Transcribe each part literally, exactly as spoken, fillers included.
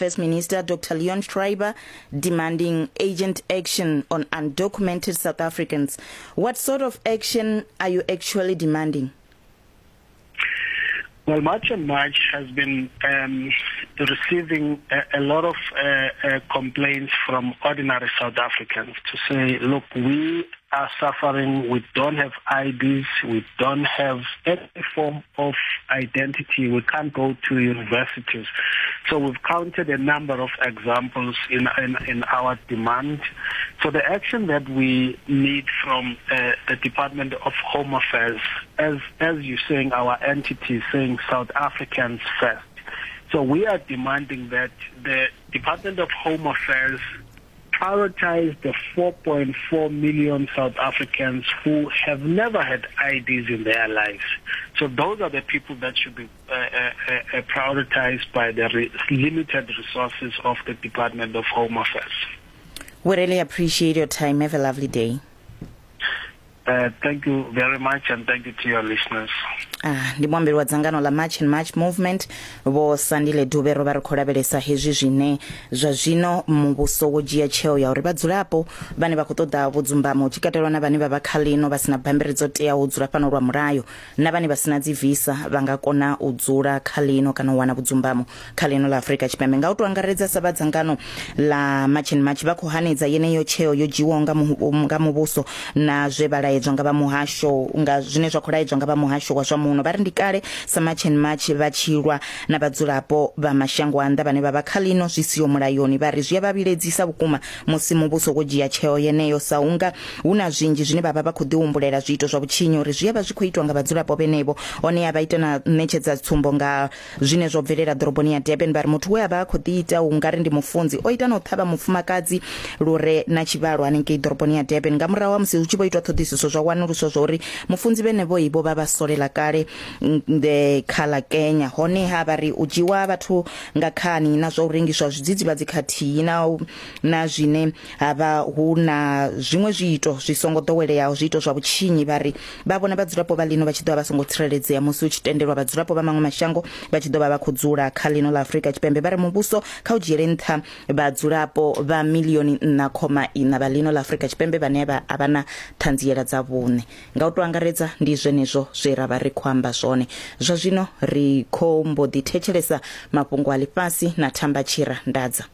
Affairs Minister Doctor Leon Schreiber demanding urgent action on undocumented South Africans. What sort of action are you actually demanding? Well, March and March has been um, receiving a, a lot of uh, uh, complaints from ordinary South Africans to say, look, we are suffering, we don't have I Ds, we don't have any form of identity, we can't go to universities. So we've counted a number of examples in, in, in our demand. So the action that we need from uh, the Department of Home Affairs, as, as you're saying, our entity is saying South Africans first. So we are demanding that the Department of Home Affairs prioritize the four point four million South Africans who have never had I Ds in their lives. So those are the people that should be uh, uh, uh, prioritized by the re- limited resources of the Department of Home Affairs. We really appreciate your time. Have a lovely day. Uh, thank you very much, and thank you to your listeners. Ah, ndi muambeli wa dzangano la March and March Movement Vho Sandile Dube. Ro vha ri khou lavhelesa hezwi zwine zwa zwino muvhuso wo dzhia tsheo ya uri vhadzulapo vhane vha khou ṱoḓa vhudzumbamo, tshi katelwa na vhane vha vha kha lino vha sina bammbiri dzo teaho u dzula fhano lwa mulayo na vhane vha sina dzi visa, vha nga kona u dzula kha lino kana u wana vhudzumbamo kha lino ḽa Afrika Tshipembe. Nga u tou angaredza sa vha dzangano la March and March vha khou hanedza yeneyo tsheo yo dzhiwaho nga muvhuso na zwe vha laedzwa nga vha muhasho, nga zwine zwa khou laedzwa nga vha muhasho wa zwa muno. Vha ri ndi kale sa March and March vha tshi lwa na vhadzulapo vha mashango a nnḓa vhane vha vha kha lino zwi siho mulayoni. Vha ri zwi a vha vhiledzisa vhukuma musi muvhuso wo dzhia tsheo yeneyo, sa unga hu na zwinzhi zwine vha vha vha khou ḓihumbulela zwiito zwa vhutshinyi uri zwi a vha zwi khou itwa nga vhadzulapo vhenevho. Hone ya vha ita na ṋetshedza tsumbo nga zwine zwo bvelela ḓoroboni ya Durban. Vha ri muthu we a vha a khou ḓi ita u nga ri ndi mufunzi o ita na u ṱhavha mufumakadzi lure na tshivhalo hanengei ḓoroboni ya Durban. Nga murahu ha musi hu tshi vho itwa ṱhoḓisiso zwa wanuluswa zwa uri mufunzi vhenevho ibo vha vha solela kale kha ḽa Kenya. Hone ha vha ri u dzhiwa vhathu nga khani na zwa u rengiswa zwidzidzivhadzi khathihi na na zwine ha vha hu na zwiṅwe zwiito zwi songo ḓoweleaho, zwiito zwa vhutshinyi. Vha ri vha vhona vhadzulapo vha lino vha tshi ḓo vha vha songo tsireledzea musi hu tshi tendelwa vhadzulapo vha maṅwe mashango vha tshi ḓo vha vha khou dzula kha lino ḽa Afrika Tshipembe. Vha ri muvhuso kha u dzhiele nṱha vhadzulapo vha milioni nṋa khoma iṋa vha lino ḽa Afrika Tshipembe vhane vha a vha na ṱhanziela dza vhuṋe. Nga u tou angaredza ndi zwenezwo zwe ra vha ri khou amba zwone. Zwa zwino ri khou mbo ḓi thetshelesa mafhungo a ḽifhasi na Thamba Tshira Ndadza.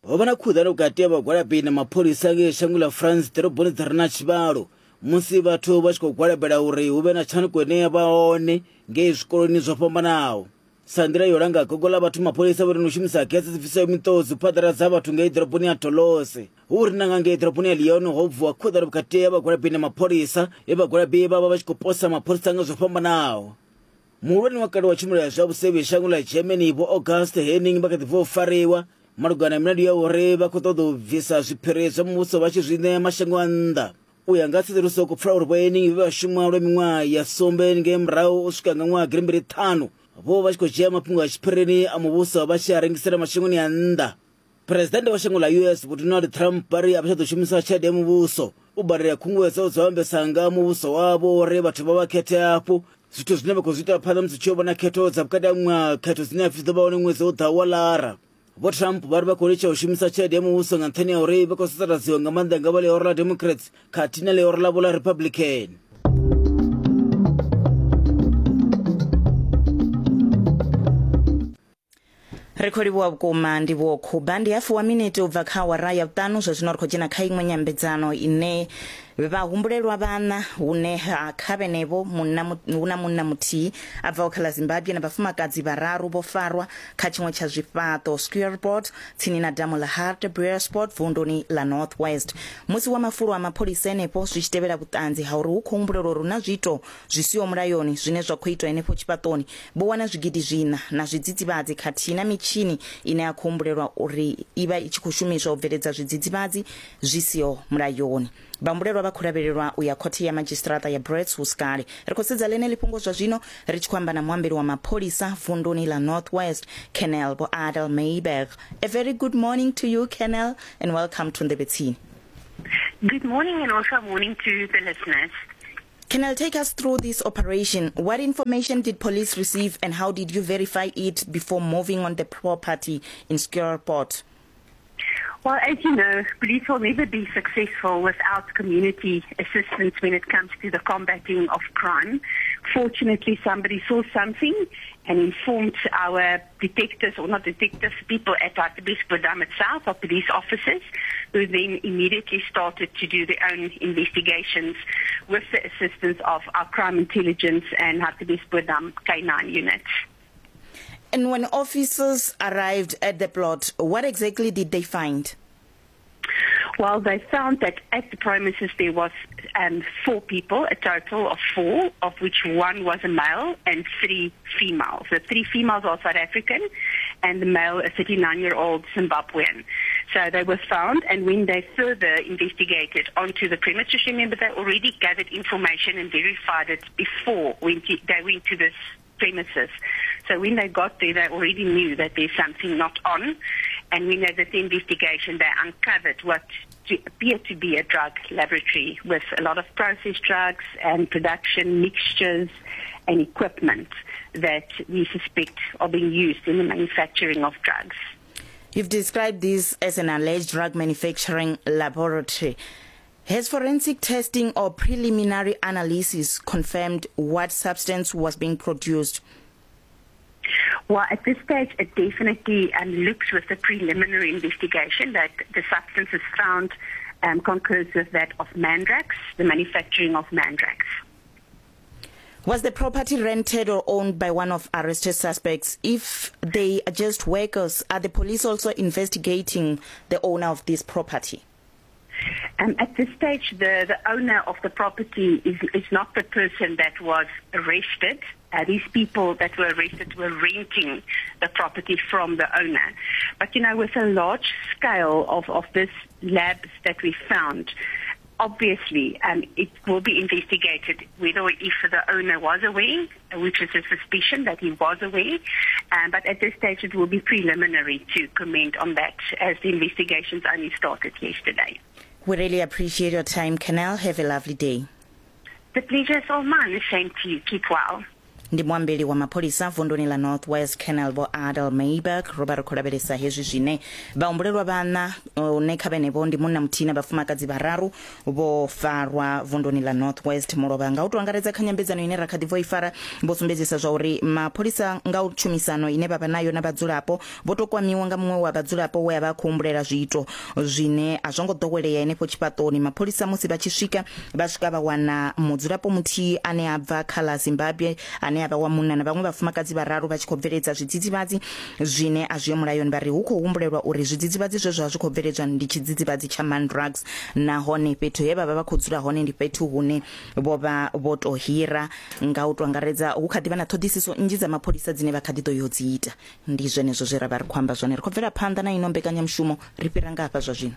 Ho vha na khuḓano vhukati ha vhagwalabi na mapholisa ngei shango ḽa France ḓoroboni dzi re na tshivhalo musi vhathu vha tshi khou gwalabela uri hu vhe na tshanduko ine ya vha hone ngei zwikoloni zwo fhambanaho. Sa nḓila yo langa gogo ḽa vhathu, mapholisa vho no shumisa gese dzi bvisaho miṱodzi u phaḓaladza vhathu ngei ḓoroboni ya Toulouse. Hu ri na nga ngei ḓoroboni ya Lyon ho bvuwa khuḓano vhukati ha vhagwalabi na mapholisa, he vhagwalabi vha vha vha tshi khou posa mapholisa nga zwo fhambanaho. Muhulwane wa kale wa tshumelo ya zwa vhusevhi shango ḽa Germany Vho August Henning vha kha ḓi bva u fariwa malugana na milandu ya uri vha khou ṱoḓa u bvisa zwiphiri zwa muvhuso vha tshi zwi ṋea mashango a nnḓa. U ya nga tsedzuluso khou pfala uri Vho Henning vhe vha shuma lwa miṅwaha ya sumbe ngei murahu u swika nga ṅwaha gidimbili ṱhanu vho vha tshi khou dzhia mafhungo a tshiphirini a muvhuso vha tshi a rengisela mashangoni a nnḓa. Presidennde wa shango ḽa U S Vho Donald Trump vha ri a vha tsha ḓo shumisa tshelede ya muvhuso u badela khunguwedzo dzo ambesa nga muvhuso wavho uri vhathu vha vha khethe hafhu, zwithu zwine vha khou zwi ita phanḓa musi tshi yo vhona khetho dza vhukati ha ṅwaha, khetho dzine hapfi dzi ḓo vha hone ṅwedzi u ḓaho wa Lara. Vho Trump vha ri vha khou litsha u shumisa tshelede ya muvhuso nga nṱhani ha uri vha khou sasaladziwa nga maanḓa nga vha ḽihoro ḽa Democrats khathihi na ḽihoro ḽavho ḽa Republican. Ri khou livhuwa vhukuma Ndivhuwo Khuba. Ndi hafu wa minete u bva kha awara ya vhuṱanu. Zwa zwino ri khou dzhena kha iṅwe nyambedzano ine vha humbulelwa vhana hune ha kha vhenevho munna hu na munna muthihi a bvaho kha ḽa Zimbabwe na vhafumakadzi vhararu vho farwa kha tshiṅwe tsha zwifhaṱo Squareport tsini na damu ḽa Hartbeespoort vunduni ḽa North West. Musi wa mafulo a mapholisa henefho zwi tshi tevhela vhuṱanzi ha uri hu khou humbulelwa uri hu na zwiito zwi siho mulayoni zwine zwa khou itwa henefho tshifhaṱoni, vho wana zwigidi zwiṋa na zwidzidzivhadzi khathihi na mitshini ine ya khou humbulelwa uri i vha i tshi khou shumiswa u bveledza zwidzidzivhadzi zwi siho mulayoni. Vhahumbulelwa vha khou lavhelelwa u ya khothe ya madzhisiṱiraṱa ya Brits hu si kale. Ri khou sedza ḽeneḽi fhungo zwa zwino ri tshi khou amba na muambeli wa mapholisa vunduni ḽa North West, Colonel Vho Adel Mayberg. A very good morning to you, Colonel, and welcome to Ndebetsini. Good morning and also morning to the listeners. Can I take us through this operation? What information did police receive and how did you verify it before moving on the property in Steelpoort? Well, as you know, police will never be successful without community assistance when it comes to the combating of crime. Fortunately, somebody saw something and informed our detectives, or not detectives, people at Hartbeespoort itself, our police officers, who then immediately started to do their own investigations with the assistance of our crime intelligence and Hartbeespoort K nine units. And when officers arrived at the plot, what exactly did they find? Well, they found that at the premises there was um, four people, a total of four, of which one was a male and three females. The three females are South African and the male a thirty-nine-year-old Zimbabwean. So they were found, and when they further investigated onto the premises, remember they already gathered information and verified it before when they went to this premises. So when they got there, they already knew that there's something not on. And when they did the investigation, they uncovered what to appeared to be a drug laboratory with a lot of processed drugs and production mixtures and equipment that we suspect are being used in the manufacturing of drugs. You've described this as an alleged drug manufacturing laboratory. Has forensic testing or preliminary analysis confirmed what substance was being produced? Well, at this stage, it definitely um, looks with the preliminary investigation that the substance is found um, concurs with that of Mandrax, the manufacturing of Mandrax. Was the property rented or owned by one of arrested suspects? If they are just workers, are the police also investigating the owner of this property? Um, at this stage, the, the owner of the property is, is not the person that was arrested. Uh, these people that were arrested were renting the property from the owner. But, you know, with a large scale of, of this labs that we found, obviously um, it will be investigated whether or if the owner was aware, which is a suspicion that he was aware. Um, but at this stage, it will be preliminary to comment on that as the investigations only started yesterday. We really appreciate your time, Colonel. Have a lovely day. The pleasure is all mine. Same to you. Keep well. Ndi muambeli wa mapholisa vunduni la North West, Colonel Vho Adel Mayberg. Ro vha ri khou lavhelesa hezwi zwine vhahumbulelwa vhana une kha vhenevho ndi munna muthihi na vhafumakadzi vhararu vho farwa vunduni la North West mulovha. Nga u to angaredza kha nyambedzano ine ra kha ḓi bvo i fara, vho sumbedzisa zwa uri mapholisa nga u tshumisano ine vha vha nayo na vhadzulapo vho to kwamiwa nga muṅwe wa vhadzulapo we a vha khou humbulela zwiito zwine a zwo ngo ḓowelea henefho tshifhaṱoni. Mapholisa musi vha tshi swika vha swika vha wana mudzulapo muthihi ane a bva kha ḽa Zimbabwe ane a vha wa munna na vhaṅwe vhafumakadzi vhararu vha tshi khou bveledza zwidzidzivhadzi zwine a zwi mulayoni. Vha ri hu khou humbulelwa uri zwidzidzivhadzi zwe zwa zwi khou bveledzwa ndi tshidzidzivhadzi tsha Mandrax, nahone fhethu he vha vha vha khou dzula hone ndi fhethu hune vho vha vho to hira. Nga u to angaredza hu kha ḓivha na ṱhoḓisiso nnzhi dza mapholisa dzine vha kha ḓi ḓo yo dzi ita. Ndi zwenezwo zwe ra vha ri khou amba zwone. Ri khou bvela phanḓa na ino mbekanyamushumo, ri fhira nga hafha zwa zwino.